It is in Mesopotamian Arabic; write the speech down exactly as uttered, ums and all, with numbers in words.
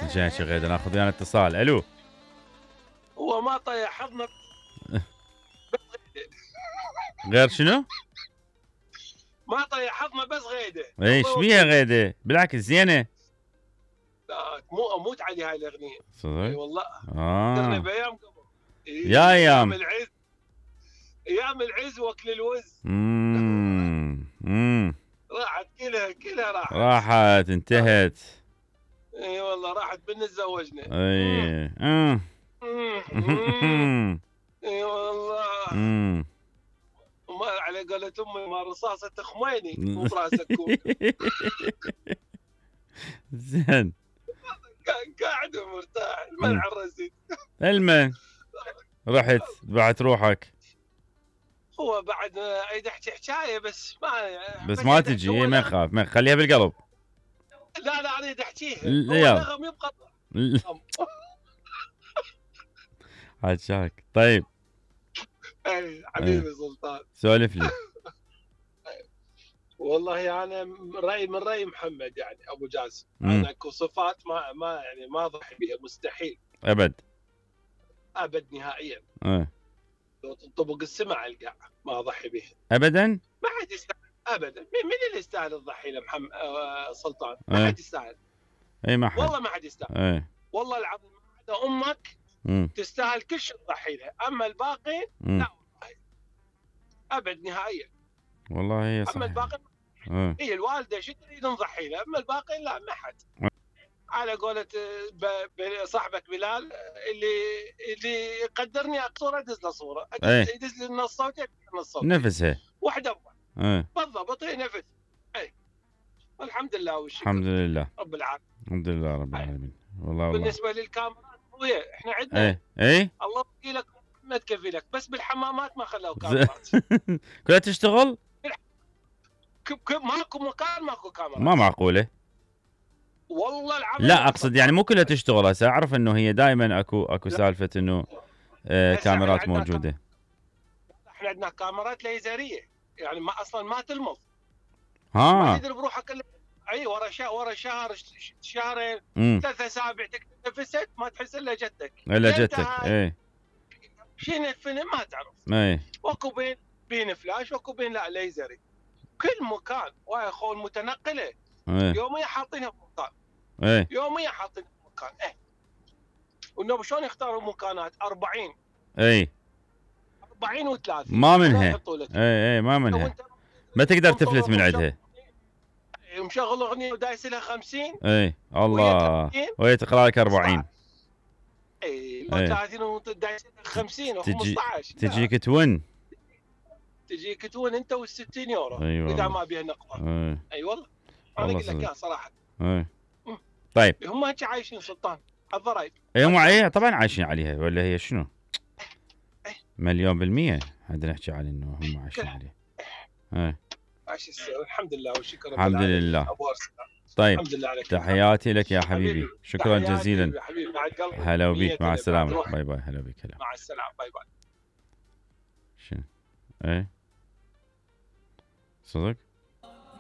جاي غيده ناخذ ويانا اتصال. الو. هو ما طيح حظنا غير شنو؟ ما طيح حظنا بس غيده. ايش بيها غيده؟ بالعكس زينه. لا مو اموت علي هاي الاغنيه. صدق؟ اي والله. اه درنا بايام قبل. إيه يا ايام العز. ايام العز واكل الوز. امم امم راحت كلها كلها راحت. راحت انتهت. اي والله راحت بنا تزوجنا. اي امم اي والله. امم وما على قولة امي ما رصاصة خميني مو براسك كون. زين. قاعد ومرتاح المنع الرزيد. المن رحت بعت روحك. هو بعد اريد احكي حكايه بس ما بس ما تجي ما تخاف ما خليها بالقلب. لا لا اريد احكيها. هو نغم يبقى عشاك. طيب اي حبيبي سلطان سولف لي. والله انا رايي من راي محمد يعني ابو جاسم. انا اكو صفات ما ما يعني ما اضحي بها مستحيل ابد ابد نهائيا. اه لو تنطبق السماء على القاع ما اضحي بها ابدا. ما حد يستاهل ابدا. من اللي يستاهل تضحي له محمد آه سلطان؟ ما اه. حد يستاهل. اي ما حد والله ما حد يستاهل. اه. والله العظيم ما عدا امك مم. تستاهل كل شيء تضحي له، اما الباقي مم. لا والله ابد نهائيا. والله هي صح. اما الباقي اه. هي الوالده شو تريد نضحي له، اما الباقي لا ما حد. على قولة صاحبك بلال اللي اللي يقدرني صوره ادز له صوره، يدز لي النص صوتي نص صوتي نفسها وحده اه بالضبط هي نفس. اي الحمد لله والشكر. الحمد لله رب العالمين. الحمد لله رب العالمين. والله والله بالنسبه للكاميرات خويا احنا عندنا ايه ايه الله يوكلك ما تكفي لك، بس بالحمامات ما خلوا كاميرات. كلها تشتغل؟ ماكو مكان ماكو كاميرات. ما معقوله. والله العظيم لا اقصد يعني مو كلها تشتغل. هسه اعرف انه هي دائما اكو اكو سالفه انه آه كاميرات موجوده. احنا عندنا كاميرات ليزريه يعني ما اصلا ما تلمض. ها ما تدري بروحك الا اي ورا شهر ورا شهر شهرين ثلاث اسابيع تنفست ما تحس الا جتك الا جتك. اي شنو الفيلم ما تعرف. اي واكو بين بين فلاش واكو بين لا ليزري كل مكان. ويا اخو المتنقله ايه. يوميا حاطينها بمكان. ايه يوميا حاطينها بمكان. ايه والنبي شلون يختاروا مكانات أربعين. اي أربعين وثلاثين ما منها. اي اي ما منها ما تقدر تفلت من عندها. مشغل اغنيه ودايس لها خمسين. اي الله وهي تقرا لك أربعين. اي ثلاثين ودايس لها خمسين تجي خمسطعش. تجيك تون تجيك تون انت وال60 يورو. أيوة. اذا ما بيها نقطه. اي أيوة والله انا اقول لك اياها صراحه. اي طيب هم هيك عايشين سلطان الضرايب. اي هم اي طبعا عايشين عليها ولا هي شنو؟ مليون بالمية هذا نحكي على انه هم عايشين عليه. اي الحمد لله والشكر. الحمد لله. طيب الحمد لله عليك. تحياتي لك يا حبيبي. شكرا جزيلا. حبيبي مع القلب. هلا وبيك مع السلامة. باي باي. هلا بيك. هلا مع السلامة. باي باي. شنو؟ ايه صدق